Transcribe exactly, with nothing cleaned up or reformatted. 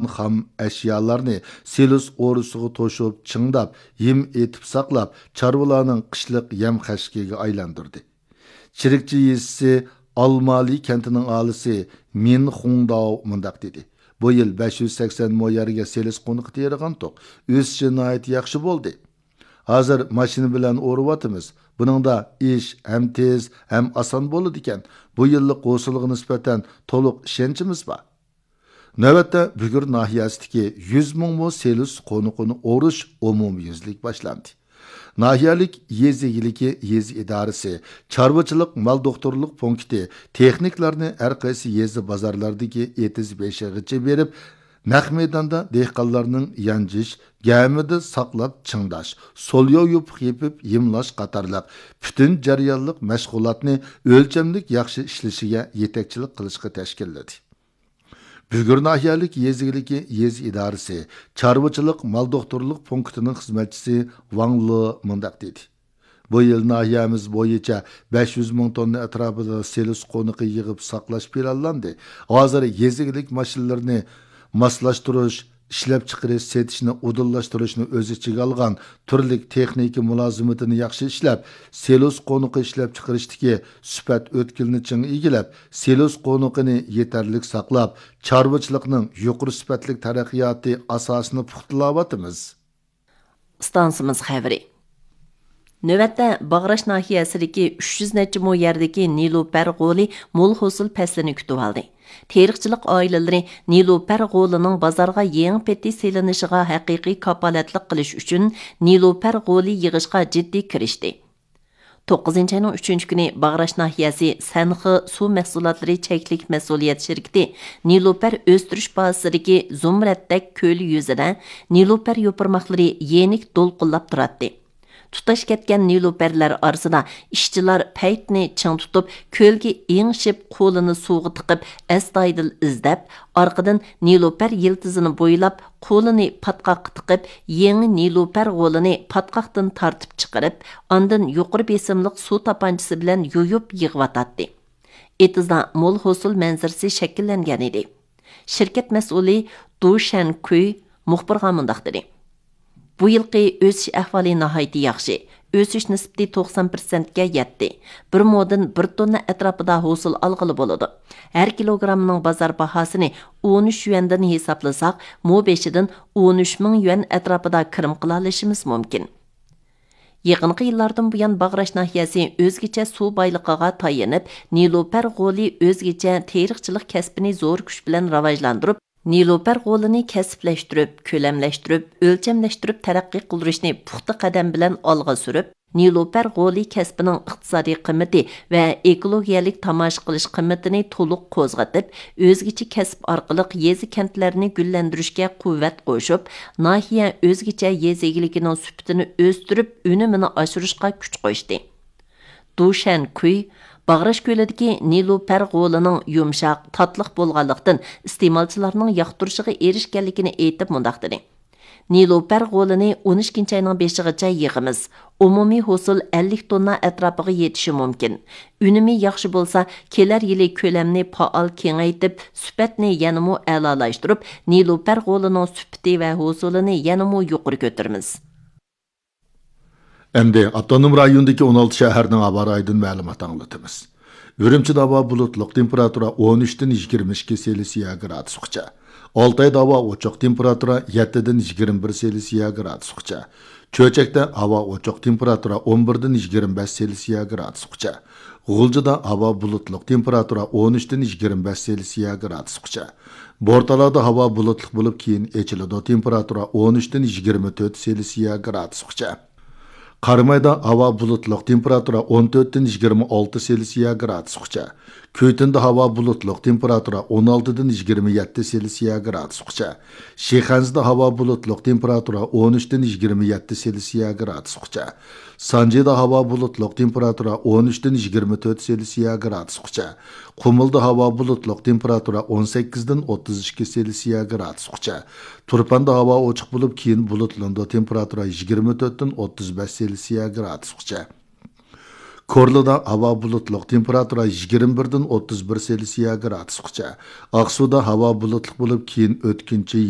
خام ئەشيالارنى سېلىس ئورىسىغا توشۇپ، چىڭداپ، ھىم ئېتىپ ساقلاپ، چارۋىلارنىڭ قىشلىق يەم-خەشىكىگە ئايلاندۇردى. چىرىكچى يېزىسى ئالمالى كەنتىنىڭ ئاھالىسى مىن خۇڭداۋ مۇنداق دېدى: «بۇ يىل بەش يۈز سەكسەن مو يەرگە سېلىس قونىقى تېرىغانتۇق. ئۆسۈشى ناھايىتى ياخشى بولدى. ھازىر ماشىنا بىلەن ئورۇۋاتىمىز. بۇنىڭدا ئىش ھەم تېز، ھەم ئاسان بولىدىكەن. بۇ يىللىق ھوسۇلغا نىسبەتەن تولۇق ئىشەنچىمىز بار.» نۆۋەتتە بۈگۈر ناھىيەسىدىكى يۈز مىڭ مو سېلىس قونىقىنى ئورۇش ئومۇميۈزلۈك باشلاندى. ناھىيەلىك يېزا ئىگىلىكى يېزا ئىدارىسى چارۋىچىلىق مال دوختۇرلۇق پونكىتى تېخنىكلارنى ھەر قايسى يېزا بازارلاردىكى ئېتىز بېشىغىچە بېرىپ، نەق مەيداندا دېھقانلارنىڭ يانجىش، گەمىدە ساقلاپ چىڭداش، سولياۋ يوپۇق يېپىپ يېمىلاش قاتارلىق پۈتۈن جەريانلىق مەشغۇلاتنى ئۆلچەملىك ياخشى ئىشلىشىگە يېتەكچىلىك قىلىشقا تەشكىللىدى. بۈگۈر ناھىيەلىك يېزا ئىگىلىكى يېزا ئىدارىسى چارۋىچىلىق مال دوختۇرلۇق پونكىتىنىڭ خىزمەتچىسى ۋاڭ لې مۇنداق دېدى: «بۇ يىل ناھىيەمىز بويىچە بەش يۈز مىڭ توننا ئەتراپىدا سېلىس قونىقى يىغىپ ساقلاش پىلانلاندى. ھازىر يېزا ئىگىلىك ماشىنىلىرىنى ماسلاشتۇرۇش، ئىشلەپچىقىرىش، سېتىشنى ئۇدۇللاشتۇرۇشنى ئۆز ئىچىگە ئالغان تۈرلۈك تېخنىكا مۇلازىمىتىنى ياخشى ئىشلەپ، سېلۇس قونىقى ئىشلەپچىقىرىشتىكى سۈپەت ئۆتكىلىنى چىڭ ئىگىلەپ، سېلۇس قونىقىنى يېتەرلىك ساقلاپ، چارۋىچىلىقنىڭ يۇقىرى سۈپەتلىك تەرەققىياتى ئاساسىنى پۇختىلاۋاتىمىز.» ئىستانسىمىز خەۋىرى. نۆۋەتتە باغراش ناھىيەسىدىكى ئۈچ يۈز نەچچە مو يەردىكى نېلۇپەر غولى مول ھوسۇل پەسلىنى كۈتۈۋالدى. تېرىقچىلىق ئائىلىلىرى نېلۇپەر غولىنىڭ بازارغا يېڭى پېتى سېلىنىشىغا ھەقىقىي كاپالەتلىك قىلىش ئۈچۈن نېلۇپەر غولى يىغىشقا جىددىي كىرىشتى. توققۇزىنچى ئاينىڭ ئۈچىنچى كۈنى باغراش ناھىيەسى سەنخې سۇ مەھسۇلاتلىرى چەكلىك مەسئۇلىيەت شىركىتى نېلۇپەر ئۆستۈرۈش بازىسىدىكى زۇمرەتتەك كۆل يۈزىدە نېلۇپەر يوپۇرماقلىرى يېنىك دولقۇنلاپ تۇراتتى. تۇتاش كەتكەن نېلۇپەرلەر ئارىسىدا ئىشچىلار پەيتنى چىڭ تۇتۇپ، كۆلگە ئېڭىشىپ، قولىنى سۇغا تىقىپ، ئەستايىدىل ئىزدەپ، ئارقىدىن نېلۇپەر يىلتىزىنى بويلاپ، قولىنى پاتقاققا تىقىپ، يېڭى نېلۇپەر غولىنى پاتقاقتىن تارتىپ چىقىرىپ، ئاندىن يۇقىرى بېسىملىق سۇ تاپانچىسى بىلەن يۇيۇپ يىغىۋاتاتتى. ئېتىزدا مول ھوسۇل مەنزىرىسى شەكىللەنگەن ئىدى. شىركەت مەسئۇلى دۇ شەنكۈي مۇخبىرغا مۇنداق دېدى: «بۇ يىلقى ئۆسۈش ئەھۋالى ناھايىتى ياخشى. ئۆسۈش نىسبىتى توقسان پىرسەنتكە يەتتى. بىر مودىن بىر توننا ئەتراپىدا ھوسۇل ئالغىلى بولىدۇ. ھەر كىلوگراممىنىڭ بازار باھاسىنى ئون ئۈچ يۈەندىن ھېسابلىساق، مو بېشىدىن ئون ئۈچ مىڭ يۈەن ئەتراپىدا كىرىم قىلالىشىمىز مۇمكىن.» يېقىنقى يىللاردىن بۇيان باغراش ناھىيەسى ئۆزگىچە سۇ بايلىقىغا تايىنىپ، نېلۇپەر غولى ئۆزگىچە تېرىقچىلىق كەسپىنى زور كۈچ بىلەن راۋاجلاندۇرۇپ، نېلۇپەر غولىنى كەسىپلەشتۈرۈپ، كۆلەملەشتۈرۈپ، ئۆلچەملەشتۈرۈپ تەرەققىي قىلدۇرۇشنى پۇختا قەدەم بىلەن ئالغا سۈرۈپ، نېلۇپەر غولى كەسپىنىڭ ئىقتىسادىي قىممىتى ۋە ئېكولوگىيەلىك تاماشا قىلىش قىممىتىنى تولۇق قوزغىتىپ، ئۆزگىچە كەسىپ ئارقىلىق يېزا، كەنتلەرنى گۈللەندۈرۈشكە قۇۋۋەت قوشۇپ، ناھىيە ئۆزگىچە يېزا ئىگىلىكىنىڭ سۈپىتىنى ئۆستۈرۈپ، ئۈنۈمىنى ئاشۇرۇشقا كۈچ قوشتى. دۇ شەنكۈي باغراش كۆلىدىكى نېلۇپەر غولىنىڭ يۇمشاق، تاتلىق بولغانلىقتىن، ئىستېمالچىلارنىڭ ياقتۇرۇشىغا ئېرىشكەنلىكىنى ئېيتىپ، مۇنداق دېدى: «نېلۇپەر غولىنى ئون ئىككىنچى ئاينىڭ بېشىغىچە يىغىمىز. ئومۇمىي ھوسۇل ئەللىك توننا ئەتراپىغا يېتىشى مۇمكىن. ئۈنۈمى ياخشى بولسا، كېلەر يىلى كۆلەمنى پائال كېڭەيتىپ، سۈپەتنى يەنىمۇ ئەلالاشتۇرۇپ، نېلۇپەر غولىنىڭ سۈپىتى ۋە ھوسۇلىنى يەنىمۇ يۇقىرى كۆتۈرىمىز.» ئەمدى ئاپتونوم رايوندىكى ئون ئالتە شەھەرنىڭ ھاۋا رايىدىن مەلۇمات ئاڭلىتىمىز. ئۈرۈمچىدە ھاۋا بۇلۇتلۇق، تېمپېراتۇرا ئون ئۈچتىن يىگىرمە ئىككى سېلسىيە گرادۇسقىچە. ئالتايدا ھاۋا ئوچۇق، تېمپېراتۇرا يەتتىدىن يىگىرمە بىر سېلسىيە گرادۇسقىچە. چۆچەكتە ھاۋا ئوچۇق، تېمپېراتۇرا ئون بىردىن يىگىرمە بەش سېلسىيە گرادۇسقىچە. غۇلجىدا ھاۋا بۇلۇتلۇق، تېمپېراتۇرا ئون ئۈچتىن يىگىرمە بەش سېلسىيە گرادۇسقىچە. بورتالادا ھاۋا بۇلۇتلۇق بولۇپ، كېيىن ئېچىلىدۇ، تېمپېراتۇرا ئون ئۈچتىن يىگىرمە تۆت سېلسىيە گرادۇسقىچە. قارامايدا ھاۋا بۇلۇتلۇق، تېمپېراتۇرا ئون تۆتتىن يىگىرمە ئالتە سېلسىيە گرادۇسقىچە. كۈيتۈندە ھاۋا بۇلۇتلۇق، تېمپېراتۇرا ئون ئالتىدىن يىگىرمە يەتتە سېلسىيە گرادۇسقىچە. شىخەنزىدە ھاۋا بۇلۇتلۇق، تېمپېراتۇرا ئون ئۈچتىن يىگىرمە يەتتە سېلسىيە گرادۇسقىچە. سانجىدا ھاۋا بۇلۇتلۇق، تېمپېراتۇرا ئون ئۈچتىن يىگىرمە تۆت سېلسىيە گرادۇسقىچە. قۇمۇلدا ھاۋا بۇلۇتلۇق، تېمپېراتۇرا ئون سەككىزدىن ئوتتۇز ئىككى سېلسىيە گرادۇسقىچە. تۇرپاندا ھاۋا ئوچۇق بولۇپ، كېيىن بۇلۇتلىنىدۇ، تېمپېراتۇرا يىگىرمە تۆتتىن ئوتتۇز بەش سېلسىيە گرادۇسقىچە. كورلىدا ھاۋا بۇلۇتلۇق، تېمپېراتۇرا يىگىرمە بىردىن ئوتتۇز بىر سېلسىيە گرادۇسقىچە. ئاقسۇدا ھاۋا بۇلۇتلۇق بولۇپ، كېيىن ئۆتكۈنچى